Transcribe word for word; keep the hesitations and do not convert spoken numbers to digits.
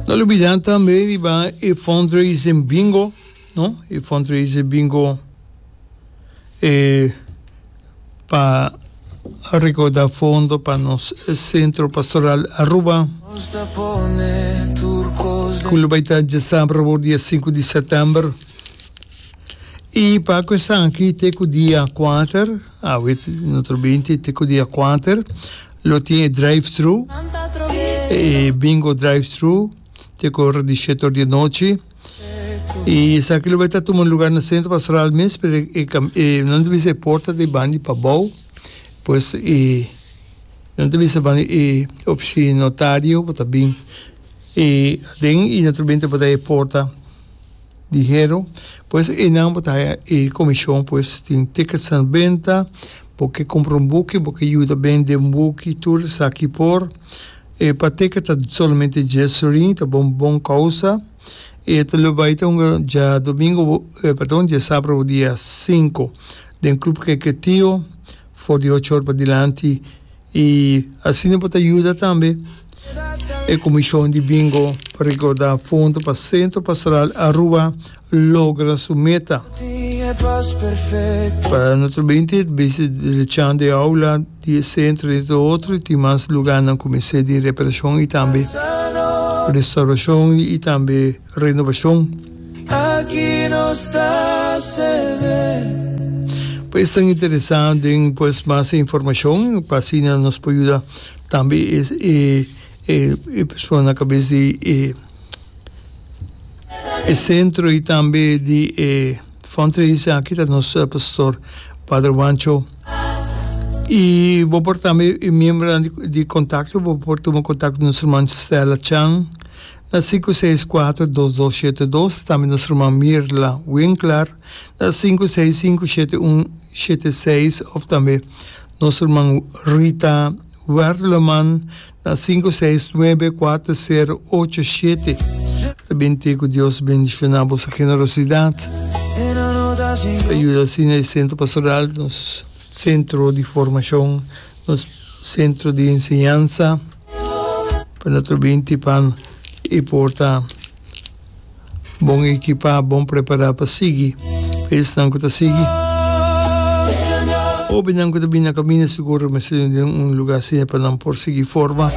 No lubida tambe riba e fundraising bingo, no? E fundraising bingo e pa recauda fondo pa nos Centro Pastoral Aruba, cu lo bay ta diasabra dia sinku di september. Y pa esaki te cu dia kuater, ah, no binti, te cu dia kuater, lo tin drive-thru, e bingo drive-thru, te cu ora di shete di anochi. Y esaki lo bay ta tuma luga na Centro Pastoral mes, pero e, e, no debe ser porta di banda pabou, pues e no debe ser banda e oficina notario, ta bin e den y naturalmente pa e porta di hero, pues e nan bo ta e comision, pues tin tickets na benta, bo ke cumpra un buki, bo ke yuda bende un buki, tur esaki por. E pa ticket ta solamente dies florin, ta bon bon causa. E ta lo bay ta un diadomingo, eh, perdon, diasabra dia sinku, den Club Kiketio, for di ocho or pa dilanti, y asina por yuda tambe e comision di bingo pa recauda fondo pa Centro Pastoral Aruba logra su meta. Pa naturalmente, drechando e aula di centro y otro, tin mas luga na cuminsa di reparacion y tambe restauracion y tambe renovacion. Aki nos ta. Pues ta interesa den, pues, mas informacion, pa asina nos por yuda tambe e, e, e, e persona na cabes di e, e centro y tambe di e, fundraising aki ta nos pastor Padre Wancho. Y bo por tambe miembro di, di contacto, bo por tuma contacto cu nos ruman Stella Chan na sinku seis kuater, dos dos shete dos, tambe nos ruman Mirla Winkler na sinku seis sinku, shete un shete seis of tambe nos ruman Rita Werleman na sinku seis nuebe, kuater sero ocho shete. Tambe cu Dios bendiciona bo generosidad. Yuda asina e Centro Pastoral, nos centro di formacion, nos centro di enseñansa, pa naturalmente pa e por ta bon ekipa, bon prepara pa sigui. Esnan cu ta sigui. Hobennan cu ta bin na caminda sigur mester di un luga asina pa nan por sigui forma.